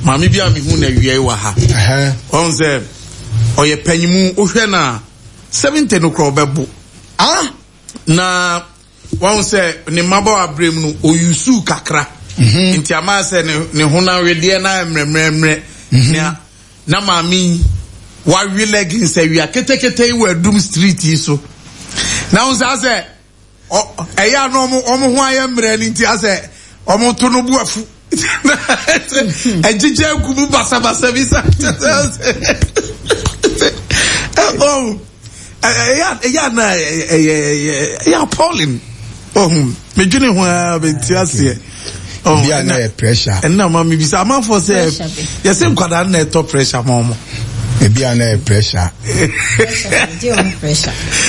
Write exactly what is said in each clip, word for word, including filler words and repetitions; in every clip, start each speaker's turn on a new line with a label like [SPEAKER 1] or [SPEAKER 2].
[SPEAKER 1] Maame bi a mehu na awia yi wɔ ha. Ɔn sɛ ɔyɛ panyimu, wohwɛ no a seventy no korɔ ɔbɛbo.
[SPEAKER 2] Ah!
[SPEAKER 1] Na wɔn sɛ ne mmabaawa berɛ mu no oyusu kakra.
[SPEAKER 2] Mhm.
[SPEAKER 1] Nti ama sɛ ne ne honam wedeɛ na ayɛ mmerɛmmerɛmmerɛ.
[SPEAKER 2] Mhm.
[SPEAKER 1] Nea na maame yi wawe leggings awia ketekete yi wɔ Adum street yi so. Na wɔn sɛ asɛ ɛyɛ a na wɔn wɔn ho ayɛ mmerɛ no nti asɛ wɔn to no bu afu. Ɛgyegye agu mu basabasa bi sa. Oh, ɛyɛ ɛyɛ na ɛyɛ ɛyɛ appalling. Oh, medwene ho ara mente aseɛ. Oh,
[SPEAKER 2] Bi a na yɛ pressure.
[SPEAKER 1] Ɛnna ma mi bisa amanfoɔ sɛ yɛsɛ nkwadaa na ɛtɔ pressure ma ɔmo.
[SPEAKER 2] Ebi a na yɛ pressure.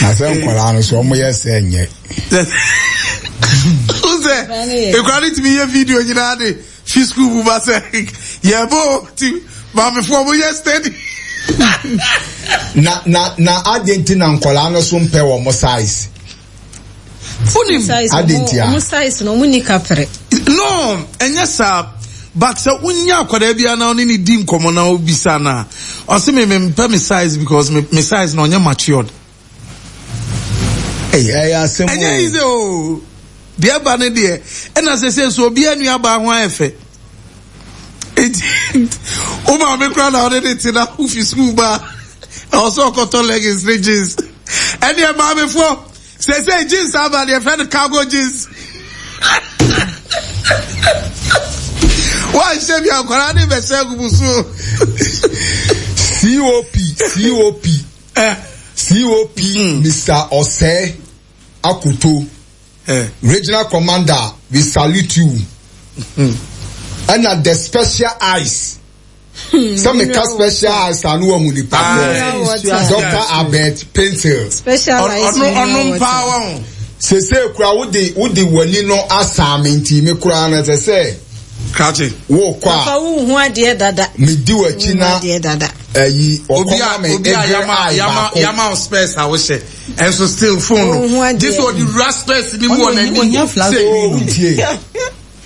[SPEAKER 2] Na sɛ nkwadaa no so ɔmo yɛ sɛ nyɛ.
[SPEAKER 1] Sɛ nkwadaa no tumi yɛ video nyinaa de fi school mu ba sɛ yɛ bɔ ti maamefoɔ ɔmo yɛ steady.
[SPEAKER 2] Na na na adi nti na nkwadaa no so mpɛ wɔn size.
[SPEAKER 1] Wonim
[SPEAKER 2] Adi nti a.
[SPEAKER 3] Ɔmo size no ɔmo ni kapere.
[SPEAKER 1] No, ɛnyɛ saa. But sɛ wonya akwadaa bi na ɔne ne di nkɔmɔ na obisa na ɔse me mempɛ me size because me, me size na ɔnyɛ matured.
[SPEAKER 2] Ɛyɛ ɛyɛ asɛm o.
[SPEAKER 1] Ɛnyɛ easy o. Deɛ ba ne deɛ ɛna sɛ sɛ so obi anua baa ho ayɛ fɛ. Eti wo maame koraa na ɔde ne te na wofi school ba ɛwɔ sɛ ɔkɔtɔ leggings ne jeans. Ɛneɛ maamefoɔ sɛ sɛ jeans aba deɛ fɛ no cargo jeans. Wanhyɛ bi akwadaa ne bɛhyɛ agu mu so.
[SPEAKER 2] COP COP COP Mister Osei Akoto
[SPEAKER 1] Eh.
[SPEAKER 2] Regional Commander, we salute you. Ɛna the special eyes. Sɛ meka special eyes a no wahu nipa korɔ. Doctor Albert Paintsil.
[SPEAKER 3] Special eyes.
[SPEAKER 1] Ɔno ɔno mpaa wɔn.
[SPEAKER 2] Sese kura wode wode w'ani no asan me nti me kura no ɛsɛ sɛ
[SPEAKER 1] Krakye.
[SPEAKER 2] wokɔ a
[SPEAKER 3] Papa wo hu adeɛ dada.
[SPEAKER 2] medi w'akyi na
[SPEAKER 3] Wo hu adeɛ dada.
[SPEAKER 2] ɛyi
[SPEAKER 1] Obi
[SPEAKER 2] ɔkɔma
[SPEAKER 1] a
[SPEAKER 2] me
[SPEAKER 1] obi a
[SPEAKER 2] egre
[SPEAKER 1] yama
[SPEAKER 2] eye
[SPEAKER 1] yama
[SPEAKER 2] baako.
[SPEAKER 1] yama specs a wohyɛ ɛnso still phone
[SPEAKER 3] Ohun
[SPEAKER 1] no.
[SPEAKER 3] adeɛ.
[SPEAKER 1] Gye sɛ ɔde wura specs ni mu wɔ
[SPEAKER 4] Ɔno ohia
[SPEAKER 1] n'ani.
[SPEAKER 4] flat
[SPEAKER 1] Sɛ
[SPEAKER 4] screen.
[SPEAKER 2] Oh, tie.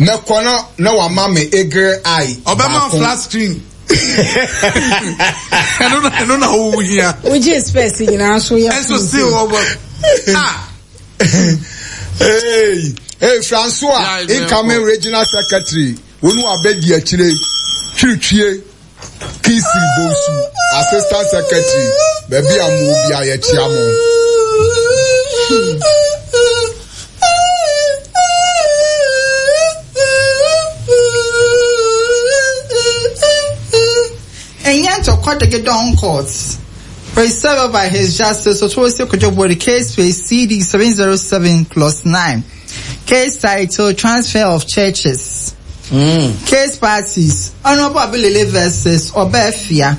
[SPEAKER 2] Mɛkɔ na na wama me egre eye
[SPEAKER 1] ɔbɛma
[SPEAKER 2] baako.
[SPEAKER 1] flat screen. Ɛno na ɛno na wo hia.
[SPEAKER 3] Wogye specs nyinaa so yɛ.
[SPEAKER 1] Ɛnso still ɔbɔ. Ah.
[SPEAKER 2] Hey, hey, Francois,
[SPEAKER 1] Yeah,
[SPEAKER 2] incoming regional secretary, wonu abedi akyire, twitwie, Kisi Bonsu, assistant secretary, baabi a mo obi a yɛkyia mo.
[SPEAKER 4] Ɛnyɛ Court. Preserved by His Justice Otosi Kojobo, case face C D seven zero seven plus nine. Case title, Transfer of Churches.
[SPEAKER 1] Mm.
[SPEAKER 4] Case parties, Honorable Abilele versus Obefia.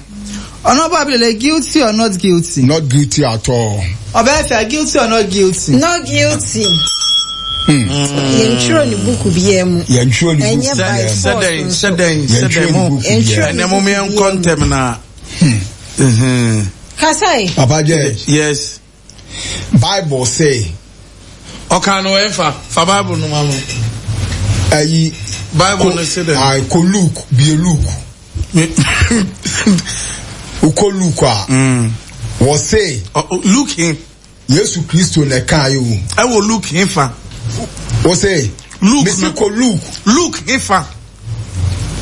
[SPEAKER 4] Honorable Abilele, guilty or not guilty?
[SPEAKER 2] Not guilty at all.
[SPEAKER 4] Obefia, guilty or not guilty?
[SPEAKER 3] Not guilty. Yɛntwerɛ ne buku biara mu.
[SPEAKER 2] Yɛntwerɛ ne
[SPEAKER 3] Ɛnyɛ
[SPEAKER 2] buku
[SPEAKER 3] by
[SPEAKER 2] biara mu.
[SPEAKER 3] force
[SPEAKER 1] Sɛdɛn
[SPEAKER 3] nso.
[SPEAKER 1] sɛdɛn sɛdɛn mo.
[SPEAKER 3] Yɛntwerɛ ne
[SPEAKER 1] Ɛnɛ mo
[SPEAKER 3] buku
[SPEAKER 1] yɛn
[SPEAKER 3] biara
[SPEAKER 1] nkɔ
[SPEAKER 3] mu.
[SPEAKER 1] ntɛm na. Mhm.
[SPEAKER 3] Kasai.
[SPEAKER 2] Papa Judge.
[SPEAKER 1] Yes.
[SPEAKER 2] Bible say.
[SPEAKER 1] Ɔka no ɛnfa fa Bible no ma no.
[SPEAKER 2] Ayi.
[SPEAKER 1] Bible no say dɛ.
[SPEAKER 2] Ayi ko Luke bie Luke. Ukɔ Luke a. Wɔ say.
[SPEAKER 1] Luke hin.
[SPEAKER 2] Yesu Kristo na ɛka ayi o.
[SPEAKER 1] Ɛwɔ Luke hin fa.
[SPEAKER 2] Wɔ say.
[SPEAKER 1] Luke.
[SPEAKER 2] Mesi ko Luke.
[SPEAKER 1] Luke hin fa.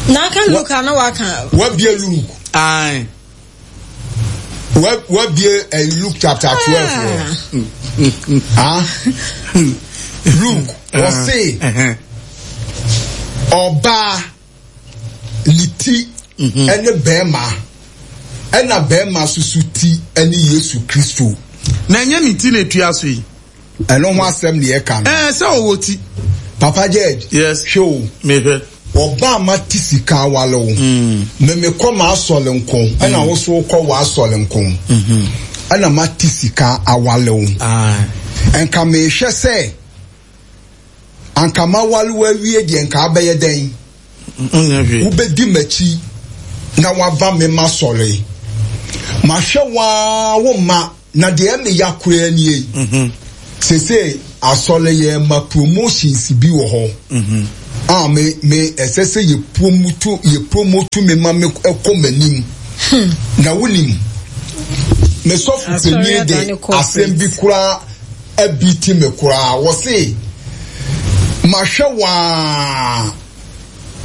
[SPEAKER 3] N'aka Luke ana waka.
[SPEAKER 2] Wabie Luke.
[SPEAKER 1] Ayi.
[SPEAKER 2] Wabie uh, Luke chapter twelve. Ah. Luke ɔse ɔbaa ne ti ɛne bɛrima ɛna bɛrima soso ti ɛne Yesu Kristo.
[SPEAKER 1] Na ɛnyɛ ne ti na etua so yi.
[SPEAKER 2] Ɛno ho asɛm ne yɛka no.
[SPEAKER 1] Ɛɛ sɛ ɔwɔ ti.
[SPEAKER 2] Papa Judge.
[SPEAKER 1] Yes.
[SPEAKER 2] Hwɛ o.
[SPEAKER 1] Mehwɛ.
[SPEAKER 2] Ɔbaa ma ti sika awale o. Mɛmɛ kɔ ma asɔle nko ɛna woso kɔ wɔ asɔle nko. Ɛna ma ti sika awale o. Nka mehwɛ sɛ anka ma wale wawie deɛ nka abɛyɛ dɛn. Wobɛdi m'akyi na waba me ma sɔre. Mahwɛ waa wo ma na deɛ me ya koraa nie. Sese asɔre yɛ ma promotions bi wɔ hɔ. A me me ɛsɛ sɛ yɛ promote yɛ promote me ma me ɛkɔ m'anim. Na wonim, me sɔfo panyin de asɛm bi koraa abiti me koraa. Wɔse mahwɛ waa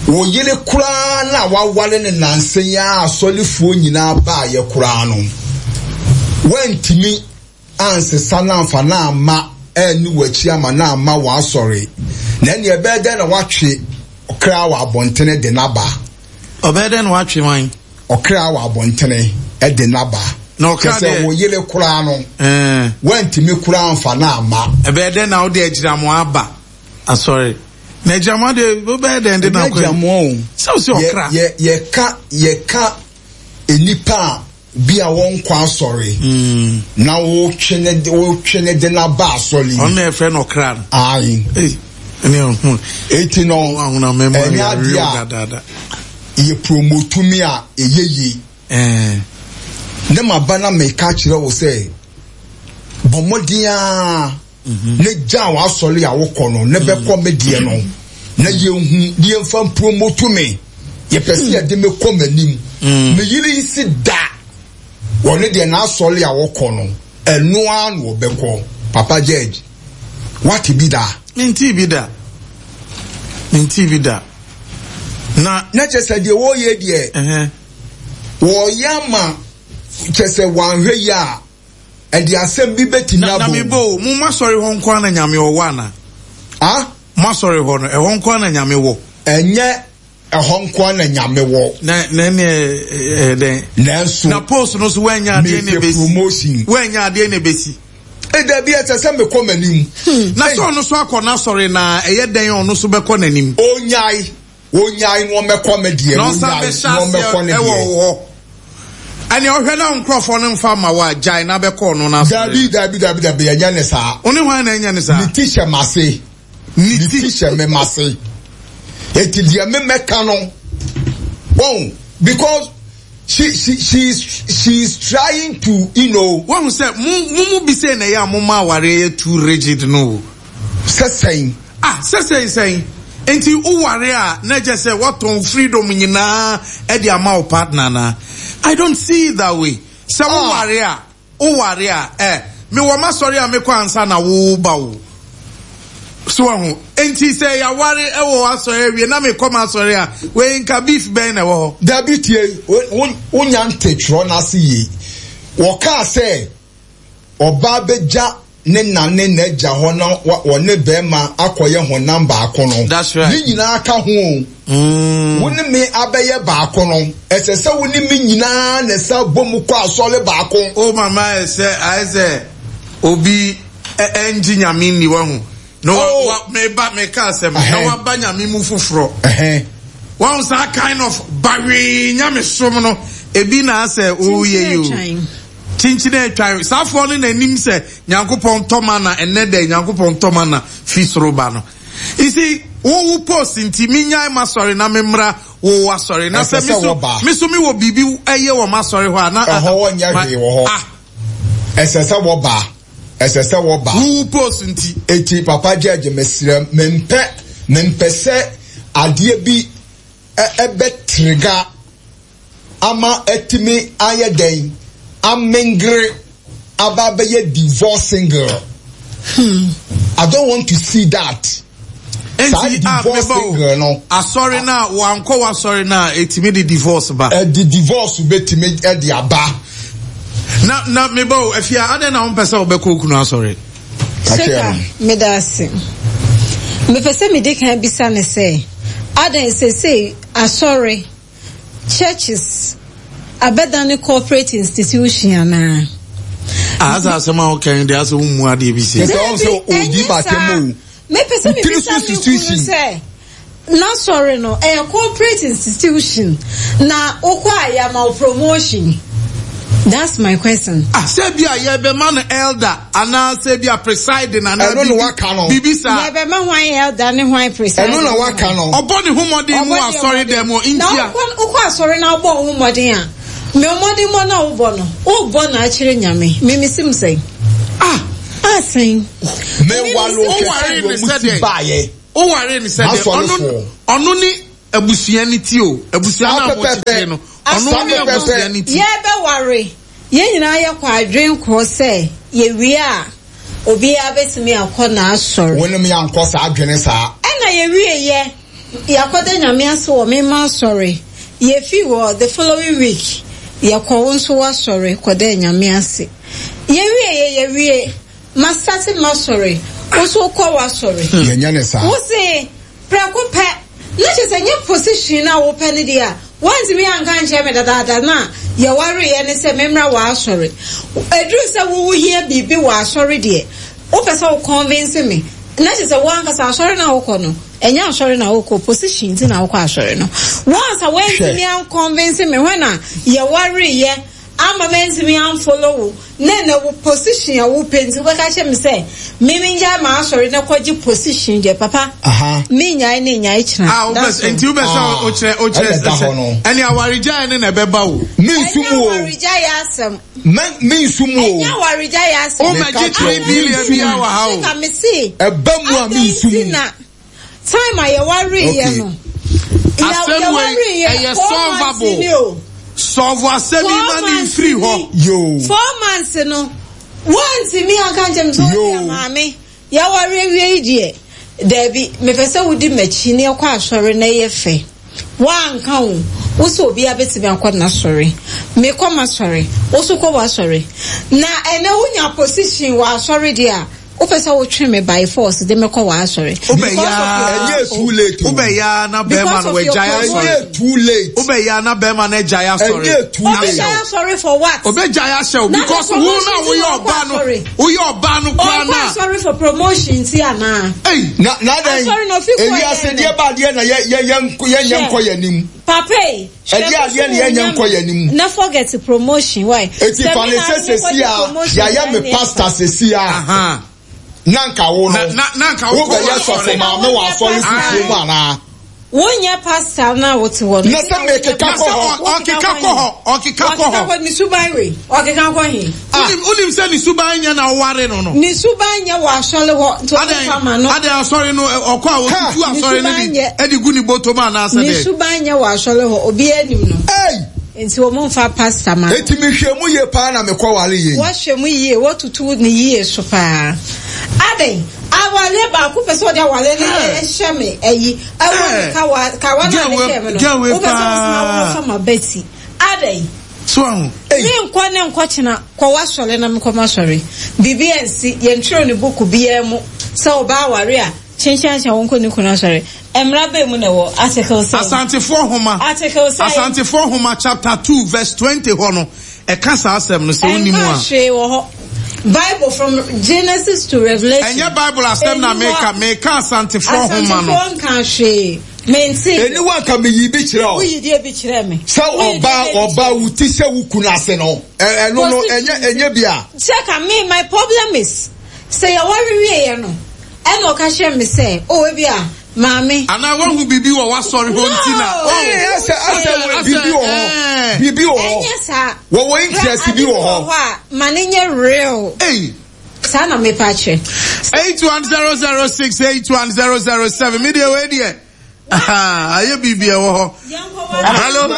[SPEAKER 2] wo yere koraa na waware ne nansa yi a asɔrefoɔ nyinaa baayɛ koraa no, wantumi ansesa no amfa no amma ɛne w'akyi ama no amma w'asɔre, na ɛne ɛbɛyɛ dɛn na watwe ɔkra wɔ abɔntene de n'aba?
[SPEAKER 1] Ɔbɛyɛ dɛn na watwe wan?
[SPEAKER 2] Ɔkra wɔ abɔntene de n'aba.
[SPEAKER 1] Na ɔkra
[SPEAKER 2] deɛ sɛ wo yere koraa no, wantumi koraa amfa no amma.
[SPEAKER 1] Ɛbɛyɛ dɛn na wode agyinamoa aba asɔre? Na agyinamoa deɛ wobɛyɛ dɛn de na akɔ?
[SPEAKER 2] Agyinamoa o.
[SPEAKER 1] Sɛ wo sɛ ɔkra.
[SPEAKER 2] Yɛ yɛka yɛka nnipa a bi a wɔnkɔ asɔre na wotwe ne wotwe ne de n'aba asɔre.
[SPEAKER 1] Ɔno na yɛfrɛ no ɔkra no.
[SPEAKER 2] Ayi. Eti no ɛnyɛ adeɛ a yɛ promote mi a ɛyɛ yie. Ne ma ba na meka kyerɛ wo sɛ bɔ mmɔden a ne gya w'asɔre a wokɔ no ne bɛkɔ me deɛ no na yɛnhu ne yɛmfa promote me. Yɛpɛ sɛ yɛde me kɔ m'anim. Me yere si da wɔne deɛ n'asɔre a wɔkɔ no ɛno ara na wɔbɛkɔ. Papa Judge, wate bi da?
[SPEAKER 1] Nti bi da. Nti bi da. Na
[SPEAKER 2] na kyerɛ sɛ deɛ wɔyɛ deɛ wɔyɛ ama kyerɛ sɛ wɔanhwɛ yi a ɛde asɛm bi bɛtumi abɔ.
[SPEAKER 1] Na mebo mo masɔre hɔ nko na Nyame ɔwɔ ana?
[SPEAKER 2] Ah?
[SPEAKER 1] Masɔre hɔ no ɛhɔ nko na Nyame wɔ.
[SPEAKER 2] Ɛnyɛ ɛhɔ nko na Nyame wɔ.
[SPEAKER 1] Na na ne eh den.
[SPEAKER 2] Nanso
[SPEAKER 1] na post no so wanya ade na ebesi.
[SPEAKER 2] Promotion.
[SPEAKER 1] Wanya ade na ebesi.
[SPEAKER 2] E da bi ɛsɛ sɛ mekɔ m'anim.
[SPEAKER 1] Na sɛ ɔno so akɔ n'asɔre na ɛyɛ den ɔno so bɛkɔ n'anim.
[SPEAKER 2] Onyae. Onyae no ɔmɛkɔ me deɛ.
[SPEAKER 1] Na ɔsan bɛhyɛ aseɛ ɛwɔ hɔ. Ɛne ɔhwɛ na nkurɔfoɔ no mfa ma wa gyae na bɛkɔ ɔno n'asɔre.
[SPEAKER 2] Dabi dabi dabi dabi ɛnyɛ ne saa.
[SPEAKER 1] Ɔne hwan na ɛnyɛ ne saa?
[SPEAKER 2] Ne ti hyɛ m'ase. Ne ti hyɛ me m'ase. Eti deɛ me mɛka no. Wɔn because she she she is she is trying to, you know.
[SPEAKER 1] Wɔn sɛ mo mo mu bi sɛ na ɛyɛ a mo ma awareɛ yɛ too rigid no.
[SPEAKER 2] Sɛ sɛn.
[SPEAKER 1] Ah, sɛ sɛn sɛn. Nti woware a na kyerɛ sɛ wɔtɔn freedom nyinaa ɛde ama wo partner na. I don't see it that way. Sɛ woware a, woware a, eh, me wɔ m'asɔre a mekɔ ansa na wo ba wo. So ahu. Nti sɛ yɛaware ɛwɔ asɔre awie na mekɔ m'asɔre a, wei nka beef bɛn na ɛwɔ hɔ.
[SPEAKER 2] Dabi tie, wonya nte twerɛ n'ase yie. Wɔkaa sɛ ɔbaa bɛgya ne na ne n'agya hɔ na wɔne bɛrima akɔyɛ honam baako no.
[SPEAKER 1] That's right.
[SPEAKER 2] Ne nyinaa ka ho o. Wo ne me abɛyɛ baako no, ɛsɛ sɛ wo ne me nyinaa na ɛsɛ bɔ mu kɔ asɔre baako.
[SPEAKER 1] O mama ɛsɛ ayɛ sɛ obi ɛngye Nyame nni wahu. Na wa wa meba meka asɛm na waba Nyame mu foforɔ. Wɔn saa kind of bawee Nyame som no ebi na asɛ oyɛ yi o. Chinchine atwan saafoɔ no n'anim sɛ Nyankopɔn tɔma na ɛnɛ dɛ Nyankopɔn tɔma na fi soro ba no. You see, wo wo post nti me nyae ma sɔre na me mmra wo wa sɔre na sɛ me so me so me wɔ biribi ɛyɛ wɔ ma sɔre hɔ a na
[SPEAKER 2] ɛhɔ wɔ nyɛ hwee wɔ hɔ.
[SPEAKER 1] Ah.
[SPEAKER 2] Ɛsɛ sɛ wɔba. Ɛsɛ sɛ wɔba.
[SPEAKER 1] Wo wo post nti.
[SPEAKER 2] Eti Papa Judge mesrɛ mempɛ mempɛ sɛ adeɛ bi ɛbɛtrega ama ɛtumi ayɛ dɛn amengere aba bɛyɛ divorce single. Hmm. I don't want to see that. Saa divorce single no.
[SPEAKER 1] Asɔre na wankɔ wasɔre na etimi de divorce ba.
[SPEAKER 2] Ɛde divorce betimi ɛde aba.
[SPEAKER 1] Na na meba o afia adɛn na wompɛ sɛ wobɛkɔ okunu asɔre?
[SPEAKER 3] Seka meda ase. Mepɛ sɛ medi kan bisa ne sɛ adɛn sesei asɔre churches abɛda ne corporate institution anaa?
[SPEAKER 1] Asa asɛm a wokan de asɛ wommu adeɛ bi sie.
[SPEAKER 2] Sɛ ɔn sɛ odi batem o.
[SPEAKER 3] Mepɛ sɛ mebisa me kunu sɛ n'asɔre no ɛyɛ corporate institution na wokɔ a yɛama wo promotion. That's my question.
[SPEAKER 1] Ah, sɛ bi a yɛbɛma no elder anaa sɛ bi a presiding anaa
[SPEAKER 2] ɛno na waka no.
[SPEAKER 1] Bibi saa.
[SPEAKER 3] Yɛbɛma hwan elder ne hwan presiding.
[SPEAKER 2] Ɛno na waka no.
[SPEAKER 1] Ɔbɔ ne ho mmɔden mu asɔre dɛm o ntia.
[SPEAKER 3] Na wokɔ asɔre na wobɔ wo ho mmɔden a, me mmɔden mmɔ na wobɔ no, wobɔ na akyerɛ Nyame. Me mesim sɛn.
[SPEAKER 1] Ah.
[SPEAKER 3] Ah sɛn.
[SPEAKER 2] Me walo kɛse wɔ mu ti baayɛ.
[SPEAKER 1] Woware ne sɛ deɛ ɔno ɔno ne abusua ne ti o. Abusua na mo kyekyere no. Ɔno ne abusua ne ti.
[SPEAKER 3] Yɛbɛware. Yɛn nyinaa yɛkɔ adwen korɔ sɛ yɛwie a obiara bɛtumi akɔ n'asɔre.
[SPEAKER 2] Wɔnom yɛankɔ saa adwene saa.
[SPEAKER 3] Ɛna yɛwie yɛ yɛakɔda Nyame ase wɔ mema asɔre. Yɛfi hɔ the following week yɛkɔ wo nso w'asɔre kɔda Nyame ase. Yɛwie yɛ yɛwie masate masɔre wo nso wokɔ w'asɔre.
[SPEAKER 2] Yɛnyɛ ne saa.
[SPEAKER 3] Wo se prɛko pɛ na kyerɛ sɛ nyɛ position na wopɛ ne deɛ a woantumi anka nkyerɛ me dadaada na yɛwareɛ ne sɛ memmra w'asɔre. Ɛduru sɛ wowo hia biribi wɔ asɔre deɛ wopɛ sɛ wo convince me na kyerɛ sɛ woankasa asɔre na wokɔ no ɛnyɛ asɔre na wokɔ position nti na wokɔ asɔre no. Once a woantumi anconvince me hɔ na yɛwareɛ ama mantumi amfollow wo na na wo position a wopɛ nti wobɛka kyerɛ me sɛ me mengyae ma asɔre na kɔgye position deɛ papa menyae ne nyae kyena.
[SPEAKER 1] Ah, wopɛ nti wopɛ sɛ wokyerɛ wokyerɛ sɛ ɛne awaregyae ne na ɛbɛba wo.
[SPEAKER 2] Mensu
[SPEAKER 3] Ɛnyɛ
[SPEAKER 2] mu o.
[SPEAKER 3] awaregyae asɛm.
[SPEAKER 2] Mensu mu o.
[SPEAKER 3] Ɛnyɛ awaregyae asɛm.
[SPEAKER 1] Womɛgye three billion bi wɔ ha o.
[SPEAKER 3] Sika me se.
[SPEAKER 2] Ɛba mu a mensu mu.
[SPEAKER 3] Na time a yɛwareeɛ no.
[SPEAKER 1] Asɛm wei ɛyɛ solvable. Solve asɛm yi ma ne mfiri hɔ.
[SPEAKER 2] Yo.
[SPEAKER 3] Four months no. Woantumi anka nkyɛm sɛ wode maame yɛware awie yi deɛ daabi mepɛ sɛ wodi m'akyi ne ɛkɔ asɔre na ɛyɛ fɛ. Woanka wo wo sɛ obiara bɛtumi akɔ n'asɔre. Mekɔ m'asɔre wo so kɔ w'asɔre. Na ɛnɛ wonya position wɔ asɔre deɛ a wopɛ sɛ wotwe me by force de mekɔ w'asɔre.
[SPEAKER 2] Ɛnyɛ too late o.
[SPEAKER 1] Wobɛya na bɛrima no wagyae asɔre.
[SPEAKER 2] Ɛnyɛ too late.
[SPEAKER 1] Wobɛya na bɛrima no agyae asɔre.
[SPEAKER 2] Ɛnyɛ too late.
[SPEAKER 3] Ɔbɛgyae asɔre for what?
[SPEAKER 1] Obɛgyae ahyɛ wo because wo na woyɛ ɔbaa no woyɛ ɔbaa no koraa
[SPEAKER 3] Ɔkɔ
[SPEAKER 1] na.
[SPEAKER 3] asɔre for promotion ti anaa?
[SPEAKER 1] Ei.
[SPEAKER 2] Na na dan.
[SPEAKER 3] Asɔre na ofi kɔ
[SPEAKER 2] Ewi ase deɛ ba adeɛ na yɛ yɛ yɛ yɛ nyɛ nkɔ yɛ anim.
[SPEAKER 3] Papa yi.
[SPEAKER 2] Ɛdeɛ adeɛ na yɛ nyɛ nkɔ yɛ anim.
[SPEAKER 3] Na forget promotion why?
[SPEAKER 2] Eti fa ne sɛ sesi a yɛayɛ me pastor sesi a. Nanka wo no.
[SPEAKER 1] Na nanka wo
[SPEAKER 2] bɛyɛ sɔfo maame wɔ asɔre fufuo mu anaa?
[SPEAKER 3] Wonyɛ pastor na wote hɔ no.
[SPEAKER 2] Na sɛ mekeka kɔ hɔ.
[SPEAKER 1] Ɔkeka kɔ hɔ. Ɔkeka kɔ hɔ.
[SPEAKER 3] Ɔkeka kɔ ne suban wei. Ɔkeka kɔ he.
[SPEAKER 1] Wonim wonim sɛ ne suban nyɛ na ɔware no no.
[SPEAKER 3] Ne suban nyɛ wɔ asɔre hɔ nti ɔkeka ma no.
[SPEAKER 1] Adɛn asɔre no ɔkɔ a wɔtutu asɔre no de ɛde gu ne bɔtɔ mu anaasɛ
[SPEAKER 3] Ne
[SPEAKER 1] dɛ.
[SPEAKER 3] suban nyɛ wɔ asɔre hɔ obiara anim no.
[SPEAKER 2] Ei!
[SPEAKER 3] Nti wɔn mfa pastor ma no.
[SPEAKER 2] Eti mehwɛ mu yie paa na mekɔ ware yie.
[SPEAKER 3] Wɔhwɛ mu yie wɔtutu ne yie so paa. Adɛn awale baako pɛ sɛ ɔde awale no ɛhyɛ me ayi ɛwɔ ne kawa kawa na ne hyɛ me no. Wopɛ sɛ wosoma wɔfa ma bɛti. Adɛn.
[SPEAKER 1] So ahu.
[SPEAKER 3] Me nkɔ ne nkɔ kyena kɔ w'asɔre na mekɔ m'asɔre. Biribi ansi yɛntwerɛ ne buku biara mu sɛ ɔbaa aware a kyenkyenkyen wo nkɔ ne kunu asɔre. Mmara bɛn mu na ɛwɔ article seven.
[SPEAKER 1] Asantefoɔ homa.
[SPEAKER 3] Article seven.
[SPEAKER 1] Asantefoɔ homa chapter two verse twenty hɔ no ɛka saa asɛm no sɛ wonim a.
[SPEAKER 3] Ɛnka hwee wɔ hɔ. Bible from Genesis to Revelation.
[SPEAKER 1] Ɛnyɛ Bible asɛm na meka meka Asantefoɔ homa no.
[SPEAKER 3] Asantefoɔ nka hwee. Mente.
[SPEAKER 2] Eni wa ka me yi bi kyerɛ o.
[SPEAKER 3] Woyi deɛ bi kyerɛ me.
[SPEAKER 2] Sɛ ɔbaa ɔbaa wo ti sɛ wo kunu ase no. Ɛno no ɛnyɛ ɛnyɛ bi a.
[SPEAKER 3] Check me my problem is sɛ yɛware wie yɛ no ɛna ɔka kyerɛ me sɛ o ebi a maame.
[SPEAKER 1] Ana wahu bibi wɔ w'asɔre hɔ nti na.
[SPEAKER 2] Ɛɛ ɛsɛ ɛsɛ bibi wɔ hɔ. Bibi wɔ hɔ.
[SPEAKER 3] Ɛnyɛ saa.
[SPEAKER 2] Wɔwɔ interest bi wɔ hɔ.
[SPEAKER 3] Hɔ a ma ne nyɛ real.
[SPEAKER 1] Ei.
[SPEAKER 3] Saa na mepa kyerɛ.
[SPEAKER 1] Eight one zero zero six eight one zero zero seven. Mi deɛ wei deɛ. Ayɛ biribi ɛwɔ hɔ. Hello.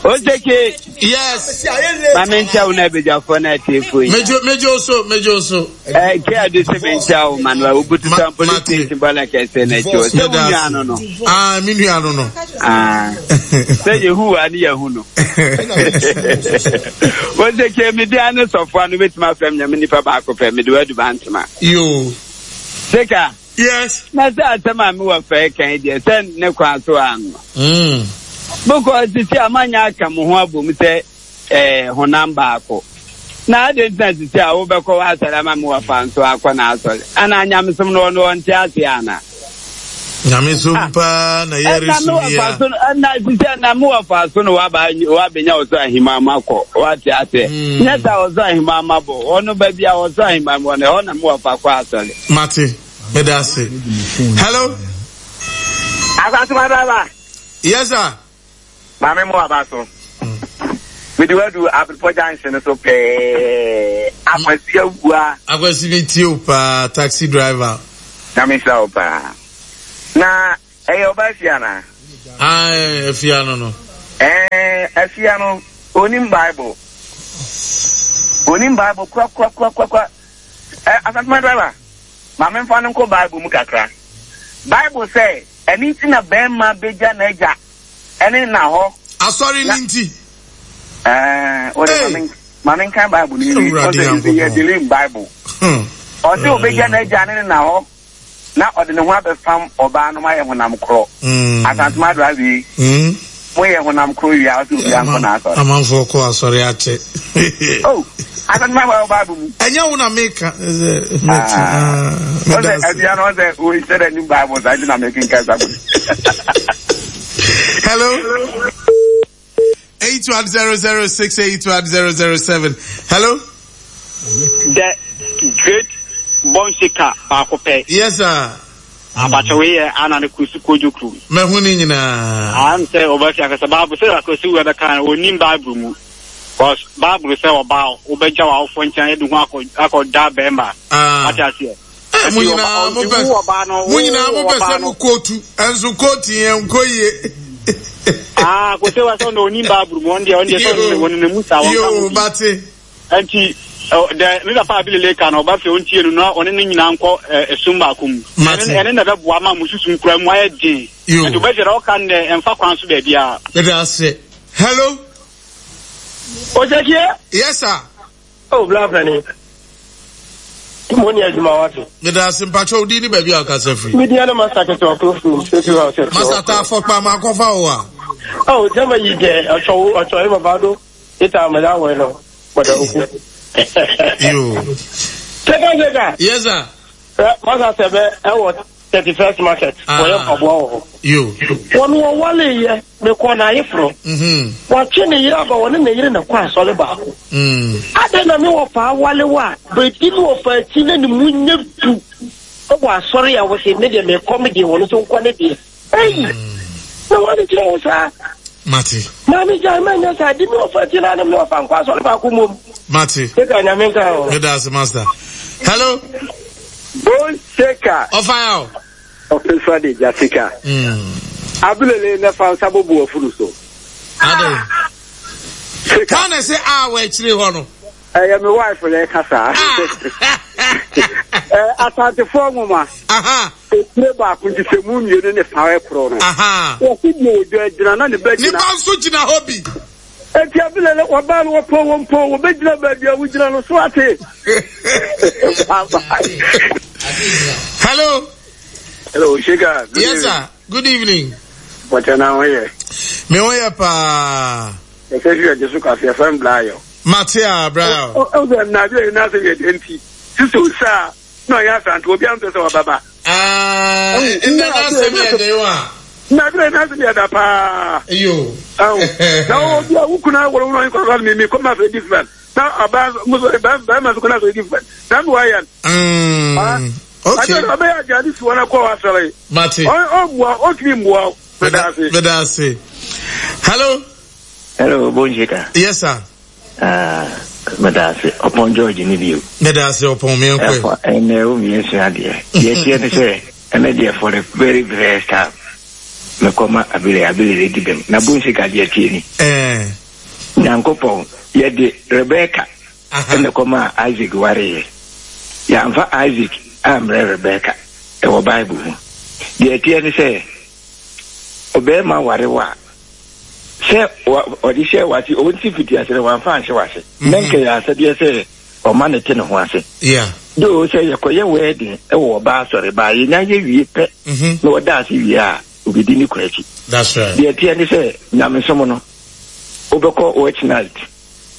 [SPEAKER 5] Oseke.
[SPEAKER 1] Yes.
[SPEAKER 5] Maame nkyɛn wo na abegyafo na atiefo yi.
[SPEAKER 1] Mejo mejo so mejo so.
[SPEAKER 5] Eh ke adu se me nkyɛn wo Manuel Obutu san police station bɔla kɛse na akyi o. Sɛ wo nua no no.
[SPEAKER 1] Ah mi nua no no.
[SPEAKER 5] Ah. Sɛ yehu wa ne yehu no. Oseke mi di ane sɔfo ano betuma fam nyame nipa baako pɛ mi de wadu bantama.
[SPEAKER 1] Yo.
[SPEAKER 5] Seka.
[SPEAKER 1] Yes.
[SPEAKER 5] Na sɛ asɛm a mewɔ fɛ kan deɛ sɛ ne kwan so ano.
[SPEAKER 1] Mm.
[SPEAKER 5] Because sisi a manya aka mo ho abom sɛ eh honam baako. Na ade ntina sisi a wobɛkɔ w'asɔre ama me wɔfa nso akɔ n'asɔre. Ana nyamesom no ɔno ɔnte ase ana?
[SPEAKER 1] Nyamesom paa na yɛre
[SPEAKER 5] Ɛna me wɔfa so no ɛna sisi a na me wɔfa so no waba wabɛnya ɔsɔ ahima ma kɔ wate ase. Nyɛ sɛ ɔsɔ ahima ma bɔ ɔno baabi a ɔsɔ ahima wɔ no ɛhɔ na me wɔfa kɔ asɔre.
[SPEAKER 1] Mate. Medase. Hello.
[SPEAKER 6] Asasuma driver.
[SPEAKER 1] Yes sir.
[SPEAKER 6] Maame mo aba so. Mede wadu Abiripɔ junction so pɛɛ. Akwasi awua.
[SPEAKER 1] Akwasi mi tie o paa taxi driver.
[SPEAKER 6] Na mi nhyira o paa. Na ɛyɛ ɔbaa fie anaa?
[SPEAKER 1] Ae, afia no no.
[SPEAKER 6] Ɛɛ, afia no, onim Bible. Onim Bible kura kura kura kura kura. Ɛ, Asantuma driver, ma memfa no nkɔ Bible mu kakra. Bible sɛ, ɛno nti na bɛrima begya n'agya ɛne na hɔ.
[SPEAKER 1] Asɔre no nti.
[SPEAKER 6] Ɛɛ, wode ma men ma menkan Bible no nwie.
[SPEAKER 1] Awurade
[SPEAKER 6] Ɔsɛ yɛ
[SPEAKER 1] Nyankopɔn.
[SPEAKER 6] delay Bible.
[SPEAKER 1] Hmm.
[SPEAKER 6] Ɔsɛ obegya n'agya ne ne na hɔ na ɔde ne ho abɛfam ɔbaa no ma yɛ honam korɔ.
[SPEAKER 1] Mm.
[SPEAKER 6] Asantuma driver yi,
[SPEAKER 1] Mm.
[SPEAKER 6] moyɛ honam korɔ wie a ɔsɛ obiara nkɔ n'asɔre.
[SPEAKER 1] Amanfoɔ kɔ asɔre akyɛ.
[SPEAKER 6] Oh, Asantuma wɔ Bible mu.
[SPEAKER 1] Ɛnyɛ wo na meka. Ɛsɛ mete.
[SPEAKER 6] Ah.
[SPEAKER 1] Ah, meda
[SPEAKER 6] Ɔsɛ
[SPEAKER 1] ase.
[SPEAKER 6] abia no ɔsɛ oyi sɛ dɛ nim Bible saa nti na mekenkan saa book.
[SPEAKER 1] Hello. Eight one zero zero six eight one zero zero seven. Hello.
[SPEAKER 7] The great bɔnseka baako pɛ.
[SPEAKER 1] Yes sir.
[SPEAKER 7] Abakyɛ wei yɛ ana ne kusi kojo kurom.
[SPEAKER 1] Mahu ne nyinaa.
[SPEAKER 7] Am sɛ ɔbɛfi akasa Bible sɛ akwasi wo ɛbɛka no onim Bible mu. Because Bible sɛ ɔbaa wobɛgya w'awofoɔ nkyɛn de ho akɔ akɔda bɛrima.
[SPEAKER 1] Ah.
[SPEAKER 7] Ate aseɛ.
[SPEAKER 1] Eh, mo nyinaa mo pɛ mo nyinaa mo pɛ sɛ mo kootu ɛnso kootu yɛn nkɔ yie.
[SPEAKER 7] Ah, kò sɛ wa sɛ ɔno onim Bible mu ɔno deɛ ɔno deɛ sɛ ɔno wɔn ne mu saa wɔn ka ho
[SPEAKER 1] Yoo
[SPEAKER 7] bi.
[SPEAKER 1] bate.
[SPEAKER 7] Nti dɛ me papa abilele ka no ɔba fɛ ontie no na ɔne ne nyinaa nkɔ ɛsum baako mu.
[SPEAKER 1] Mate.
[SPEAKER 7] Ɛne ɛne na ɛbɛboa ma mo susum kura mu ayɛ den.
[SPEAKER 1] Yo.
[SPEAKER 7] Nti ɔbɛgyina ɔka no dɛ ɛmfa kwan so baabi a.
[SPEAKER 1] Meda ase. Hello.
[SPEAKER 8] Osekie.
[SPEAKER 1] Yes sir.
[SPEAKER 8] Oh, bla plani. Mo ni adwuma wate.
[SPEAKER 1] Meda ase mpakyɛ odi ni baabi a ɔkasa firi.
[SPEAKER 8] Mi di ana master kete ɔkoro furu sefi wa ɔsɛ.
[SPEAKER 1] Master ta afɔkpa ma akɔfa wo a.
[SPEAKER 8] Oh, jama yi dɛ ɔtɔ ɔtɔ yi baba do ita amala wɔ no bɔdɔ oku.
[SPEAKER 1] Yo.
[SPEAKER 8] Seka seka.
[SPEAKER 1] Yes sir.
[SPEAKER 8] Master sɛbɛ ɛwɔ thirty first market.
[SPEAKER 1] Ah.
[SPEAKER 8] Wɔyɛ mpaboa wɔ hɔ.
[SPEAKER 1] Yo.
[SPEAKER 8] Wɔn wɔwale yɛ mekɔ na ayeforo.
[SPEAKER 1] Mhm.
[SPEAKER 8] Wɔatwe ne yere aba wɔne ne yere na kɔ asɔre baako.
[SPEAKER 1] Mm.
[SPEAKER 8] Adɛn na me wɔfa awale wo a baabi ne wɔfa akyi na ne mu nyɛ du wɔ asɔre a wɔsɛ me deɛ mekɔ me deɛ wɔno so nkɔ ne deɛ. Ei! Na wɔne kyerɛ wo saa.
[SPEAKER 1] Mate.
[SPEAKER 8] Maame gyae ma nyɛ saa di me wɔfa akyi na ne me wɔfa nkɔ asɔre baako mmom.
[SPEAKER 1] Mate.
[SPEAKER 8] Seka nyame nka ho.
[SPEAKER 1] Meda ase master. Hello.
[SPEAKER 6] Bone shaker.
[SPEAKER 1] Ɔfa ya o.
[SPEAKER 6] Ɔfefa de Jasika.
[SPEAKER 1] Mm.
[SPEAKER 6] Abulele ne fa nsa bobo afuru so.
[SPEAKER 1] Ade.
[SPEAKER 6] Sika.
[SPEAKER 1] Kwan na sɛ a wɔ akyire hɔ no.
[SPEAKER 6] Ɛyɛ me wife na ɛka saa. Ɛ Asantefoɔ nwoma.
[SPEAKER 1] Aha.
[SPEAKER 6] Etire baako nti sɛ mu mmienu ne fa ɛkorɔ no.
[SPEAKER 1] Aha.
[SPEAKER 6] Wɔsi deɛ odwa gyina na ne ba
[SPEAKER 1] Ne
[SPEAKER 6] gyina.
[SPEAKER 1] ba nso gyina hɔ bi.
[SPEAKER 6] Eti abulele wɔbaa no wɔpɔ wɔn po wɔbɛgyina baabi a wogyina no so ate. Bye bye.
[SPEAKER 1] Hello.
[SPEAKER 6] Hello, Shika. Good
[SPEAKER 1] Yes
[SPEAKER 6] evening.
[SPEAKER 1] sir. Good evening.
[SPEAKER 6] Bɔtɛ na ho yɛ.
[SPEAKER 1] Me ho yɛ paa.
[SPEAKER 6] Ɛsɛ fi ɛgye so kaseɛ fɛn bila yɛ.
[SPEAKER 1] Mate a bra.
[SPEAKER 6] Ɔ ɔ sɛ nnabi yɛ n'asɛ yɛ den ti. Sisi osa na ɔyɛ asante obi ampɛ sɛ ɔbɛba.
[SPEAKER 1] Ah, ɛnna n'asɛm yɛ den wa.
[SPEAKER 6] Nnabi yɛ n'asɛ yɛ da paa.
[SPEAKER 1] Yo.
[SPEAKER 6] Ɛwɔ na obi a wukuna wɔlɔ wɔlɔ nkɔla mi mi kɔma fɛ different. Na ɔbaa muso bɛrima so kɔna fɛ different. Na mi wa yɛ.
[SPEAKER 1] Mm. Okay.
[SPEAKER 6] Ati ɔbɛyɛ adi adi si wɔn akɔ wa sɔrɔ yi.
[SPEAKER 1] Mate.
[SPEAKER 6] Ɔ ɔmua ɔtumi mua. Meda ase.
[SPEAKER 1] Meda ase. Hello.
[SPEAKER 9] Hello, Bonjika.
[SPEAKER 1] Yes sir.
[SPEAKER 9] Ah, meda ase. Ɔpɔn George ni bio.
[SPEAKER 1] Meda ase ɔpɔn mi nkɔ.
[SPEAKER 9] Ɛfɔ ɛnɛ wo mi nsua adeɛ. Deɛ teɛ ne sɛ ɛnɛ deɛ for the very first time mekɔma abele abele de di bɛm na Bonjika deɛ tie ni.
[SPEAKER 1] Ɛɛ.
[SPEAKER 9] Nyankopɔn yɛde Rebecca
[SPEAKER 1] Aha.
[SPEAKER 9] ɛna kɔma Isaac wareɛ. Yɛamfa Isaac ammrɛ Rebecca ɛwɔ Bible mu. Deɛ teɛ ne sɛ ɔbɛrima ware wo a sɛ wa- ɔde hyɛ wase ɔnti fiti ase no wamfa anhyɛ wase na nkɛ yɛ asɛdeɛ sɛ ɔma ne te ne ho ase
[SPEAKER 1] Yeah.
[SPEAKER 9] do sɛ yɛkɔyɛ wedding ɛwɔ ɔbaa asɔre baa yɛnya yɛ wie pɛ
[SPEAKER 1] Mhm.
[SPEAKER 9] na ɔda ase wie a obɛdi ne kɔ akyi
[SPEAKER 1] That's right.
[SPEAKER 9] deɛ teɛ ne sɛ nyamesom no wobɛkɔ watch night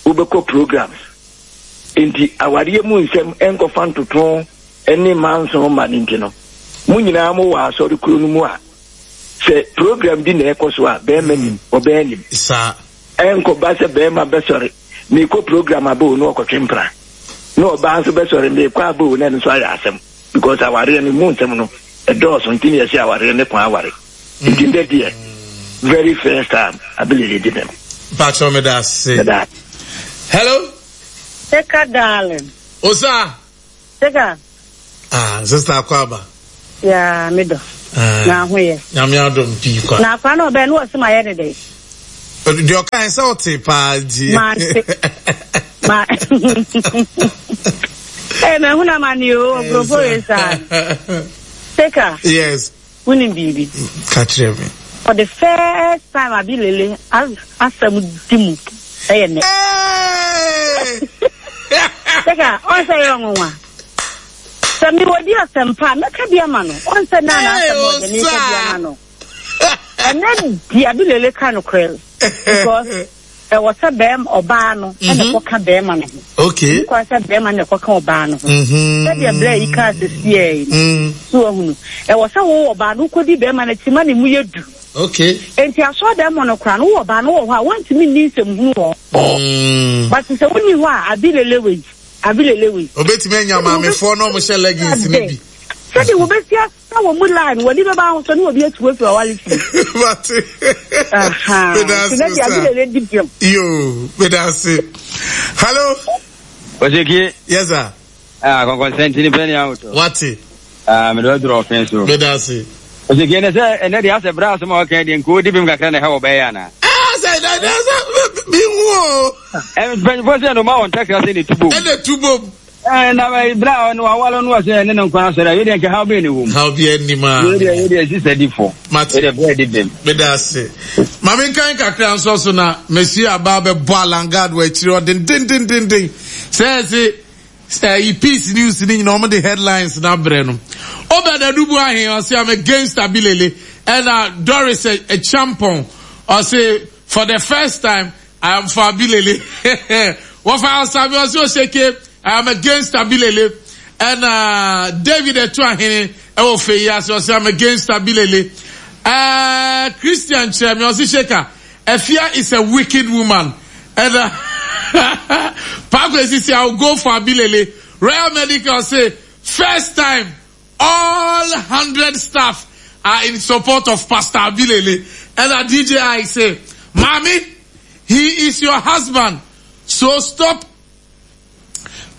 [SPEAKER 9] wobɛkɔ programs nti awareɛ mu nsɛm ɛnkɔfa ntoto ne manso ma no nti no mo nyinaa mowɔ asɔre kuro no mu a sɛ program bi na ɛkɔ so a bɛrima nim ɔbɛɛ nim
[SPEAKER 1] Saa.
[SPEAKER 9] ɛnkɔba sɛ bɛrima bɛsɔre meekɔ program abɛo na ɔkɔtwe mpra na ɔbaa nso bɛsɔre meekɔ abɛo na ɛno nso ayɛ asɛm because awareɛ no mu nsɛm no ɛdɔɔso nti ne yɛsɛ awareɛ ne kwan aware nti ndɛ deɛ very first time abɛlele di bɛm
[SPEAKER 1] Mpakyɛ meda ase.
[SPEAKER 9] Meda
[SPEAKER 1] Hello.
[SPEAKER 10] Seka darling.
[SPEAKER 1] Osa.
[SPEAKER 10] Seka.
[SPEAKER 1] Ah, sister Akwaba.
[SPEAKER 10] Ya me do. Na ho yɛ.
[SPEAKER 1] Nyame adom pii kwa.
[SPEAKER 10] Na akwa na ɔbɛn no ɔsɛ ma yɛ ne dɛ.
[SPEAKER 1] Deɛ ɔka sɛ ɔte paa nti.
[SPEAKER 10] Mante. Ma. Ee mɛ huna ma ni o nkurɔfoɔ yɛ saa. Seka.
[SPEAKER 1] Yes.
[SPEAKER 10] Wonim biribi.
[SPEAKER 1] Ka kyerɛ me.
[SPEAKER 10] For the first time abi lele asɛm di mu ɛyɛ nɛ. Seka ɔnsɛ yɛ ɔnwanwa. Sɛ mewɔ di asɛm pa a mɛka bi ama no. Ɔnsɛ naa na asɛm ɔde meka bi ama no. Ɛnɛ di abi lele ka no korɛ because ɛwɔ sɛ bɛrima ɔbaa no ɛna ɛkɔka bɛrima no ho.
[SPEAKER 1] Okay.
[SPEAKER 10] Nkwa sɛ bɛrima no ɛkɔka ɔbaa no ho. Sɛdeɛ berɛ yi kaa sɛ siɛ yi no. So ahunu. Ɛwɔ sɛ wo ɔbaa no wokɔdi bɛrima no akyi ma ne mu yɛ du.
[SPEAKER 1] Okay.
[SPEAKER 10] Enti asɔre dɛm mu no koraa no wowɔ ɔbaa no wɔ hɔ a wɔntumi nni nsɛm hunu wɔ hɔ. But sɛ wonni hɔ a abi lele wei abi lele wei.
[SPEAKER 1] Obetumi anya maamefoɔ na ɔmo hyɛ leggings no bi.
[SPEAKER 10] Sɛdeɛ wɔbɛsi na wɔn mu line wɔde bɛba ahosuo ne obi atu afiri awale fie.
[SPEAKER 1] Mate. Medase sa. Yo, medase. Hello.
[SPEAKER 5] Osiki.
[SPEAKER 1] Yes sir.
[SPEAKER 5] Ah, kɔnkɔnsɛnti ni pɛni ahoto.
[SPEAKER 1] Wate.
[SPEAKER 5] Ah, mede waduru ɔfɛn so.
[SPEAKER 1] Medase.
[SPEAKER 5] Osiki ne sɛ ɛnɛ deɛ asɛ berɛ asɛm a wɔka deɛ nka ɔdi bem kakra na ɛhɛ wɔ bɛyɛ anaa?
[SPEAKER 1] Ah, sɛ ɛnɛ deɛ sɛ mi hu o.
[SPEAKER 5] Mpanyinfoɔ sɛ ɛnoma wɔn ntakra sɛ ne tubom.
[SPEAKER 1] Ɛna tubom.
[SPEAKER 5] Eh, na bra no awalo no ɔsɛ ne no nkwa asɔre a yɛdeɛ nka haw bɛn ne wom
[SPEAKER 1] haw bi anim a
[SPEAKER 5] yɛdeɛ yɛdeɛ sisa di fo
[SPEAKER 1] mate
[SPEAKER 5] yɛdeɛ brɛ di bem
[SPEAKER 1] meda ase ma menkan kakra nso so na mesi aba bɛbɔ alangard wɔ akyiri ɔdendendendenden sɛ ɛse ɛyi peace news ne nyina ɔmo de headlines na brɛ no Obed Adubu ahe ɔse I'm against Abilele ɛna Doris Champon ɔse for the first time I am for Abilele. Wɔfa Asabi ɔse Oseke I am against Abilele. Ɛna David Etu Ahene ɛwɔ fɛ yi ase ɔse I'm against Abilele. Uh, Christian Kyerɛmi ɔse Sheka Efia is a wicked woman. Ɛna Paako Esisi I will go for Abilele. Royal Medical say first time all hundred staff are in support of Pastor Abilele. And D J I say, Mommy, he is your husband, so stop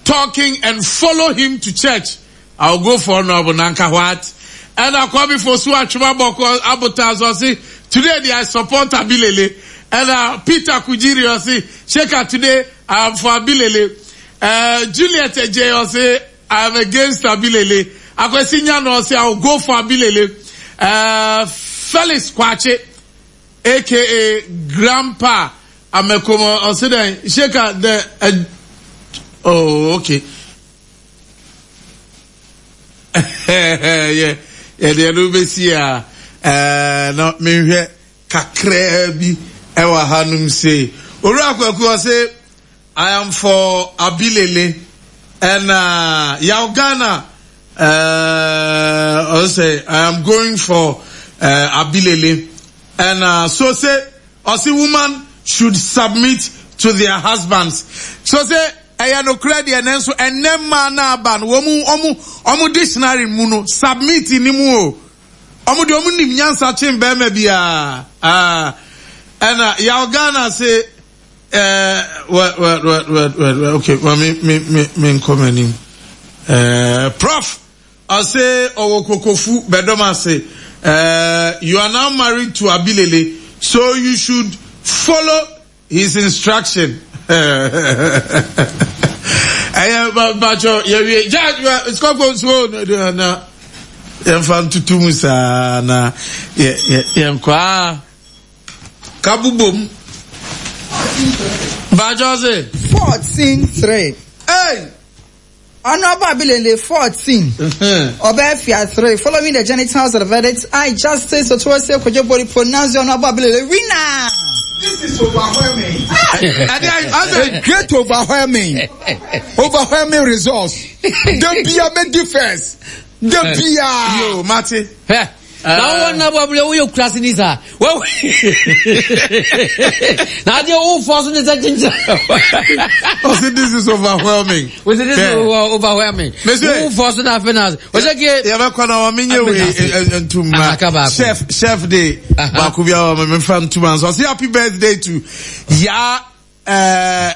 [SPEAKER 1] talking and follow him to church. I'll go for Honorable Nanka what? And I call me for Sua Chuma Boko Abota. Today I support Abilele. And uh, Peter Kujiri say, Sheka today I'm for Abilele. Uh, Juliet J say, I'm against Abilele. Akwesi Nyano say, I'll go for Abilele. Uh, Felix Kwache, aka Grandpa Amekomo, ɔse dɛn, Sheka the, uh, oh, okay. Yeah, yeah, the no be see ah, eh, no, me hwɛ kakra bi ɛwɔ hanom sei. Owura Kwaku ɔse, I am for Abilele, and uh, Yaw Ghana, uh, ɔse, I am going for uh, Abilele, and uh, so say, ɔse woman should submit to their husbands. So say, ɛyɛ nokorɛ deɛ nanso ɛnɛ mmaa na aba no wɔn ɔmo ɔmo dictionary mu no submit ni mu o. Ɔmo deɛ ɔmo nim nyansa kyen bɛrima biara. Ah, ɛna Yaw Ghana se ɛɛ wɛ wɛ wɛ wɛ wɛ okay ma me me me me nkɔ m'anim. Ɛɛ Prof ɔse ɔwɔ kokofu bɛdɔm ase. Ɛɛ you are now married to Abilele, so you should follow his instruction. Ɛyɛ mpatsɔ yɛwie gya sikɔfo nsuo na yɛnfa ntutu mu saa na yɛ yɛ yɛnkɔ aa kabubom mpatsɔ se.
[SPEAKER 4] Fourteen three.
[SPEAKER 1] Hey.
[SPEAKER 4] Honorable Abilele fourteen. Obefia three. Following the genitals of the verdict, I Justice Otuose Kojo Bori pronounce Honorable Abilele winner.
[SPEAKER 2] This is overwhelming. I, I, great overwhelming. Overwhelming results. The beer made difference. The beer.
[SPEAKER 1] Yo, Marty.
[SPEAKER 11] Now one na bubble we cross ni sa. Well, now the old force in the ginger.
[SPEAKER 1] I said this is overwhelming.
[SPEAKER 11] We said this is overwhelming. Who force na finance? We say
[SPEAKER 1] ya ba kwa na wa menye we ntuma. Chef chef day. Ba ku bia wa me fa ntuma. So say happy birthday to ya eh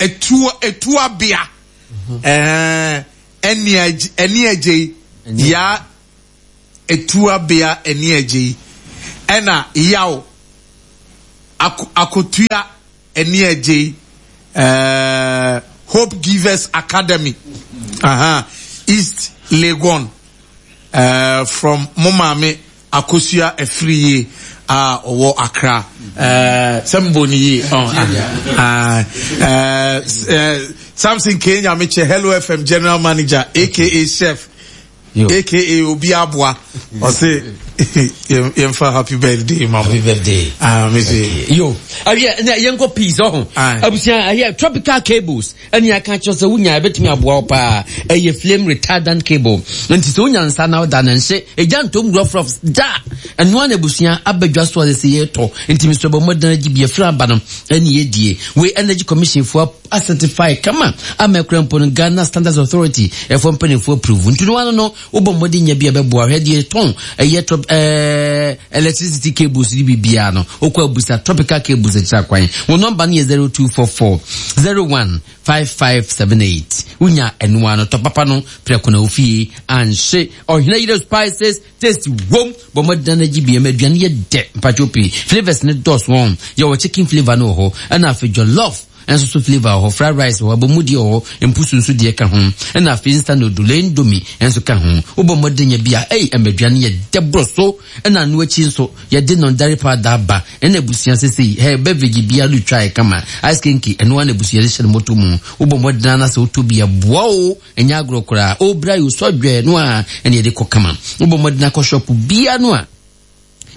[SPEAKER 1] etu etu abia. Eh eni eni eje ya Etuabea ani agye yi ɛna Yaw Akotua ani agye yi uh, Hope Givers Academy, uh-huh. East Legon, uh, from mo maame Akosua Afriye a ɔwɔ Accra. Sɛ mbɔ ne yie. Samson K Nyamekyɛ, Hello F M General Manager, aka Chef, Yo. aka Obi Aboa, ɔse yɛmfa happy birthday ma
[SPEAKER 11] happy birthday.
[SPEAKER 1] Ah, me se.
[SPEAKER 11] Yo, awie na yɛnkɔ peace ɔho. Abusua ɛyɛ tropical cables ɛne aka kyerɛ sɛ wonya ɛbɛtumi aboa wo paa. Ɛyɛ flame retardant cable. Nti sɛ wonya nsa na woda no nhye, ɛgya ntom rɔfrɔf da. Ɛnoa na abusua abadwa so a sɛ yɛtɔ. Nti mesrɛ bɔ mmɔden agye bi afiri aba no ɛne yɛdie. Wei Energy Commission foɔ acertify kama ama ɛkura mpo no Ghana Standards Authority ɛfoɔ mpanimfoɔ approve. Nti no ano no wobɔ mmɔden nya bi a bɛboa hwɛ deɛ tɔn ɛyɛ trop ɛɛ electricity cables ni biribiara no wokɔ abusa tropical cables akyira kwan. Wo nɔmba no yɛ zero two four four zero one five five seven eight. Wonya ɛnoa no tɔ papa no prɛko na ofie anhye ɔhene yere spices taste wom bɔ mmɔden na gye bi ɛma aduane yɛ dɛ mpatwo pii flavors ne dɔs wɔn yɛwɔ chicken flavor no wɔ hɔ ɛna afei jollof ɛnso so flavor wɔ hɔ, fried rice wɔ hɔ, abomudie wɔ hɔ, mpusu nso deɛ ka ho ɛna afei instant noodle indomie ɛnso ka ho. Wobɔ mmɔden nya bi a ɛyi ɛma aduane yɛ dɛ borɔ so ɛna ano akyi nso yɛde nɔndare powder aba ɛna abusua sesei hɛ beverage biara no twa ɛkama ice kenke ɛno ana abusua de hyɛ no moto mu. Wobɔ mmɔden ana sɛ wotɔ bi aboa o ɛnyɛ agorɔ koraa obra yi osɔ dwɛ no a ɛna yɛde kɔ kama. Wobɔ mmɔden akɔ shop biara no a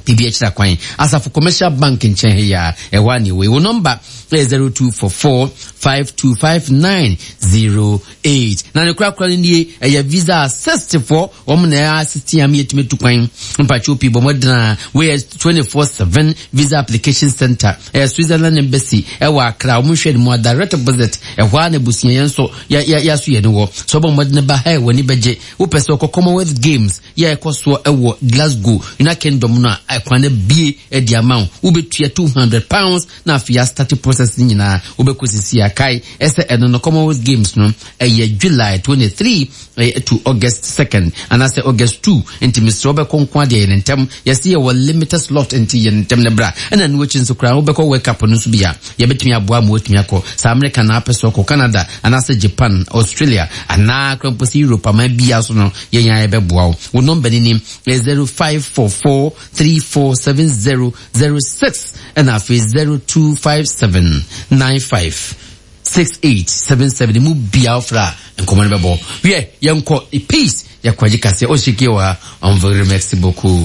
[SPEAKER 11] bibi akyira kwan Asafo Commercial Bank nkyɛn he ya ɛhɔ a ne wei wo nɔmba ɛyɛ zero two four four five two five nine zero eight na ne korakora no nie ɛyɛ visa assist foɔ wɔn na ɛyɛ assist yam yɛtumi tu kwan mpatwo pii bɔ mmɔden a wɔyɛ twenty four seven visa application center ɛyɛ Switzerland Embassy ɛwɔ Accra wɔn hwɛ ne mu a direct opposite ɛhɔ a na abusua yɛn nso yɛ yɛ yɛaso yɛn wɔ so ɔbɔ mmɔden ba ha wɔ ani bɛgye wopɛ sɛ ɔkɔ Commonwealth Games yɛ ɛkɔ soɔ ɛwɔ Glasgow United Kingdom no a ɛkwan no bie ɛde ama wo wobɛtua two hundred pounds na afei astart process no nyinaa wobɛkɔ sisi akae ɛsɛ ɛno no Commonwealth Games no ɛyɛ July twenty three to August second anaasɛ August two nti mesrɛ wobɛkɔ nko adeɛ yɛ ne ntɛm yɛse yɛwɔ limited slot nti yɛ ne ntɛm ne bra ɛna no akyi nso koraa wobɛkɔ World Cup no nso bi a yɛbɛtumi aboa ma woatumi akɔ saa America na apɛ sɛ ɔkɔ Canada anaasɛ Japan Australia anaa koraa mpo sɛ Europe aman biara so no yɛn a yɛbɛboa wo. Wo nɔmba ni ni zero five four four three four seven zero zero six ɛna afei zero two five seven nine five six eight seven seven mu bia ofra nkɔmɔ no bɛbɔ wiɛ yɛnkɔ peace yɛkɔ agye kaseɛ ɔhyɛkie wɔ ha on very merci beaucoup.